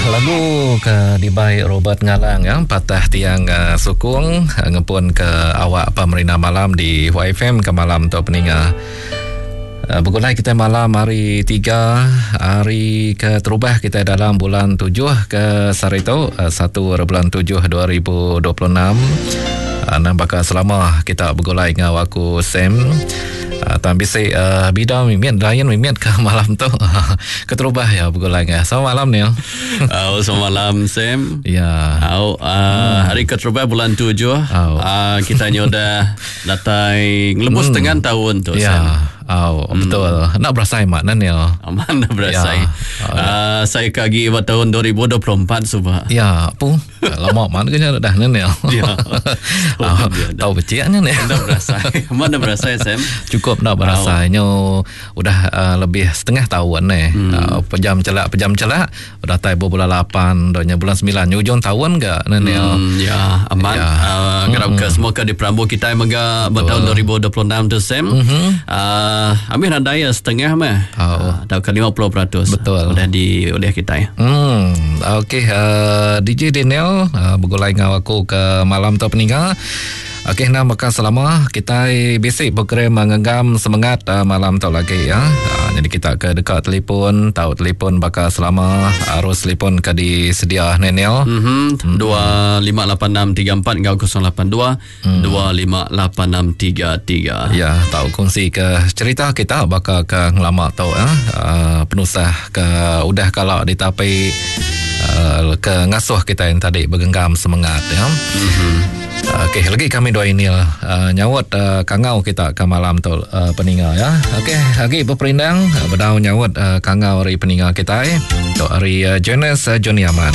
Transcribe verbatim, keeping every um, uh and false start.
Lagu ke dibai Robert Ngalang ya, Patah Tiang uh, Sukung uh, ngepun ke awak pemerintah malam di Y F M ke malam tu peninga. Uh, bergulai kita malam hari tiga, hari ke terubah kita dalam bulan tujuh ke sehari tu, uh, satu bulan tujuh dua ribu dua puluh enam. Uh, nampak selama kita bergulai dengan aku Sam. Uh, tam bisik uh, bida mimit lain mimit ke malam tu. Keterubah ya bergulai dengan. Selamat malam ni. Oh, selamat malam Sam. Ya. Oh, uh, hmm. hari keterubah bulan tujuh. Oh. Uh, kita ni udah datai ngelebus hmm. setengah tahun tu ya. Sam. Oh, hmm. betul. Nak berasai makna ni. Aman nak berasai. Ya. Oh, ya. Uh, saya kagi buat tahun dua ribu dua puluh empat subah. Ya, apa? Lama mana kena dah ni. Ya. Oh, tahu kecilnya ni. Nak berasai. Mana berasai Sam? Cukup nak berasainya. Oh. Udah uh, lebih setengah tahun ni. Hmm. Uh, pejam celak pejam celak udah tai bulan lapan, donya bulan sembilan, ujung tahun ke ni. Hmm, ya, aman. Ya. Uh, kerap hmm. ke semua ke di perambu kita mega bertahun dua ribu dua puluh enam tu Sam. Mm-hmm. Uh, Uh, ambil nadai setengah mah. Oh. Uh, atau ke lima puluh peratus. Betul. Sudah di oleh kita ya. Hmm. Okey, uh, D J Daniel uh, bergulai dengan aku ke malam tu peninggal. Okey, nah maka selama kita bisik program menggenggam semangat uh, malam tu lagi ya. Uh, jadi kita ke dekat telefon, tahu telefon bakal selama arus telefon ke disedia Daniel. Mhm. dua lima lapan enam tiga empat ngau kosong lapan dua dua lima lapan enam tiga tiga. Ya, tahu kongsi ke cerita kita bakal ke ngelama tu ya. Uh, penusah ke udah kalau ditapi uh, ke ngasuh kita yang tadi bergenggam semangat ya. Mhm. Okey, lagi kami dua ini uh, nyawut uh, kangau kita ke malam tu uh, peninga ya. Okey, lagi berperindang uh, bedau nyawut uh, kangau hari peninga kita eh. Untuk hari uh, Jonas uh, Johnny Aman.